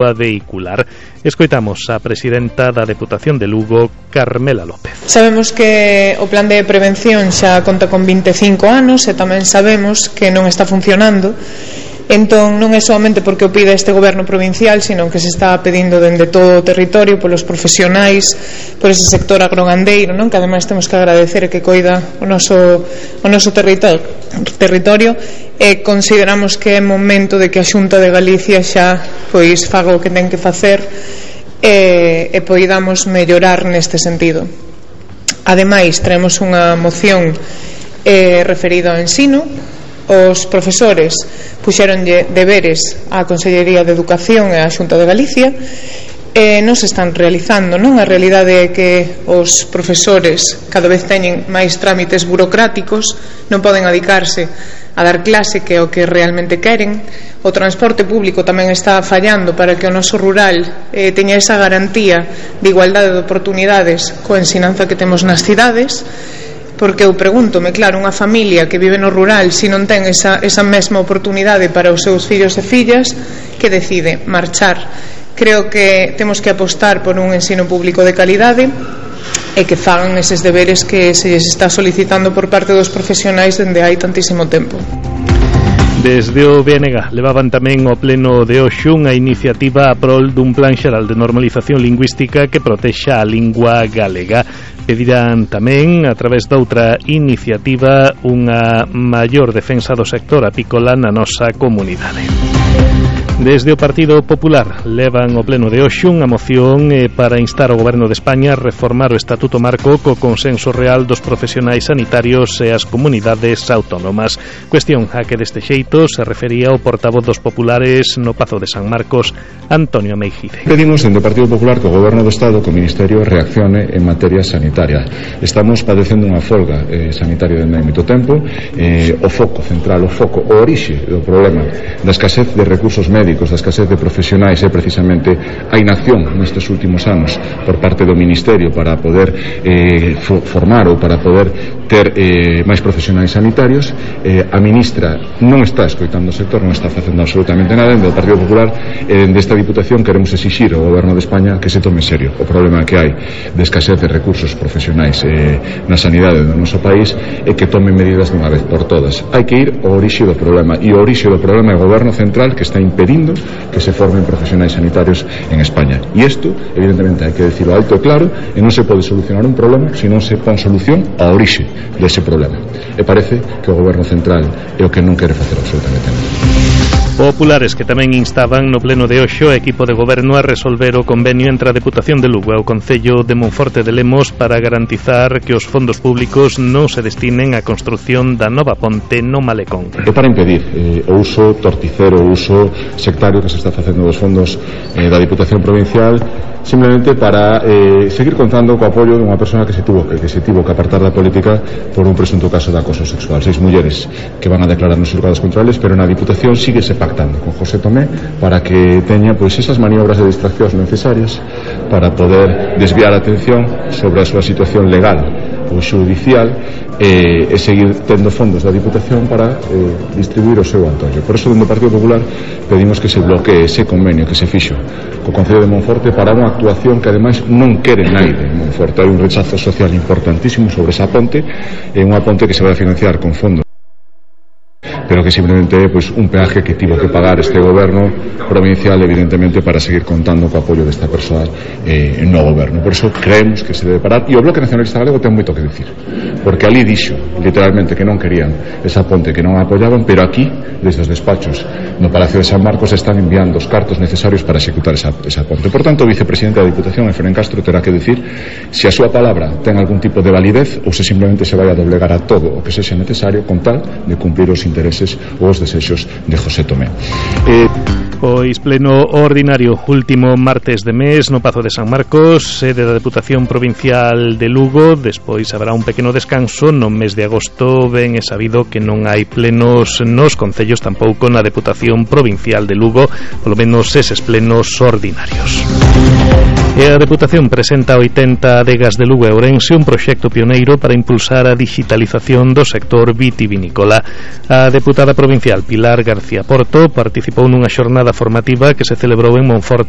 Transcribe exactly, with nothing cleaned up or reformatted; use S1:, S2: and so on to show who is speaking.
S1: vehicular. Escoitamos a presidenta da Deputación de Lugo, Carmela López.
S2: Sabemos que o plan de prevención xa conta con vinte e cinco anos e tamén sabemos que non está funcionando. Entón non é somente porque o pide este goberno provincial, sino que se está pedindo dende todo o territorio polos profesionais, por ese sector agrogandeiro, non? Que ademais temos que agradecer que coida o noso, o noso territorio, territorio e consideramos que é momento de que a Xunta de Galicia xa pois faga o que ten que facer e, e poidamos mellorar neste sentido. Ademais, traemos unha moción eh, referida ao ensino. Os profesores puxeronlle deberes á Consellería de Educación e á Xunta de Galicia e non se están realizando, non? A realidade é que os profesores cada vez teñen máis trámites burocráticos, non poden adicarse a dar clase, que é o que realmente queren. O transporte público tamén está fallando para que o noso rural eh, teña esa garantía de igualdade de oportunidades coa ensinanza que temos nas cidades. Porque eu pregúntome, claro, unha familia que vive no rural, se non ten esa, esa mesma oportunidade para os seus fillos e fillas, que decide marchar. Creo que temos que apostar por un ensino público de calidade e que fagan eses deberes que se lles está solicitando por parte dos profesionais dende hai tantísimo tempo.
S1: Desde o B N G levaban tamén ao pleno de hoxe unha iniciativa a prol dun plan xeral de normalización lingüística que protexa a lingua galega. Pedirán tamén, a través doutra iniciativa, unha maior defensa do sector apícola na nosa comunidade. Desde o Partido Popular levan ao pleno de hoxe unha moción eh, para instar ao Goberno de España a reformar o Estatuto Marco co consenso real dos profesionais sanitarios e as comunidades autónomas. Cuestión a que deste xeito se refería o portavoz dos populares no Pazo de San Marcos, Antonio Meijide.
S3: Pedimos dende o Partido Popular que o Goberno do Estado, que o Ministerio, reaccione en materia sanitaria. Estamos padecendo unha folga eh, sanitaria dende hai moito tempo. Eh, o foco central, o foco, o orixe do problema da escasez de recursos médicos, da escasez de profesionais é precisamente a inacción nestes últimos anos por parte do Ministerio para poder eh, formar ou para poder ter eh, máis profesionais sanitarios. Eh, a ministra non está escoitando o sector, non está facendo absolutamente nada. Dende o Partido Popular e eh, desta Diputación queremos exixir ao Goberno de España que se tome en serio o problema que hai de escasez de recursos profesionais eh, na sanidade do noso país e que tome medidas de unha vez por todas. Hai que ir ao orixe do problema, e o orixe do problema é o Goberno Central, que está impedindo que se formen profesionais sanitarios en España. E isto, evidentemente, hai que decirlo alto e claro, e non se pode solucionar un problema se non se pon solución ao orixe dese problema. E parece que o Goberno Central é o que non quere facer absolutamente nada.
S1: Populares que tamén instaban no pleno de hoxe o equipo de goberno a resolver o convenio entre a Deputación de Lugo e o Concello de Monforte de Lemos para garantizar que os fondos públicos non se destinen á construción da nova ponte no Malecón.
S3: É para impedir eh, o uso torticero, o uso sectario que se está facendo dos fondos eh, da Diputación Provincial, simplemente para eh, seguir contando co apoio dunha persona que se tuvo que, que se tivo que apartar da política por un presunto caso de acoso sexual. Seis mulleres que van a declarar nos xulgados controlables, pero na Diputación sigue se pactando con José Tomé para que teña pois esas maniobras de distraccións necesarias para poder desviar a atención sobre a súa situación legal ou xudicial e, e seguir tendo fondos da Diputación para eh, distribuir o seu antojo. Por eso, dentro do Partido Popular, pedimos que se bloquee ese convenio que se fixo co Concello de Monforte para unha actuación que ademais non quere naide en Monforte. Hai un rechazo social importantísimo sobre esa ponte, é unha ponte que se vai a financiar con fondos, pero que simplemente é pois, un peaje que tivo que pagar este goberno provincial, evidentemente, para seguir contando co apoio desta persoa eh, no goberno. Por eso creemos que se debe parar, e o Bloque Nacionalista Galego ten moito que dicir, porque ali dixo literalmente que non querían esa ponte, que non a apoyaban, pero aquí, desde os despachos no Palacio de San Marcos, están enviando os cartos necesarios para executar esa, esa ponte. Por tanto, o vicepresidente da Diputación, Efrén Castro, terá que dicir se a súa palabra ten algún tipo de validez ou se simplemente se vai a doblegar a todo o que sexa necesario con tal de cumplir os intereses ou os desexos de José Tomé. Eh...
S1: Pois pleno ordinario último martes de mes no Pazo de San Marcos, sede da Deputación Provincial de Lugo. Despois haberá un pequeno descanso. No mes de agosto ben é sabido que non hai plenos nos concellos, tampouco na Deputación Provincial de Lugo, polo menos eses plenos ordinarios. E a Deputación presenta oitenta adegas de Lugo e Ourense un proxecto pioneiro para impulsar a digitalización do sector vitivinícola. A deputada provincial Pilar García Porto participou nunha xornada formativa que se celebrou en Monforte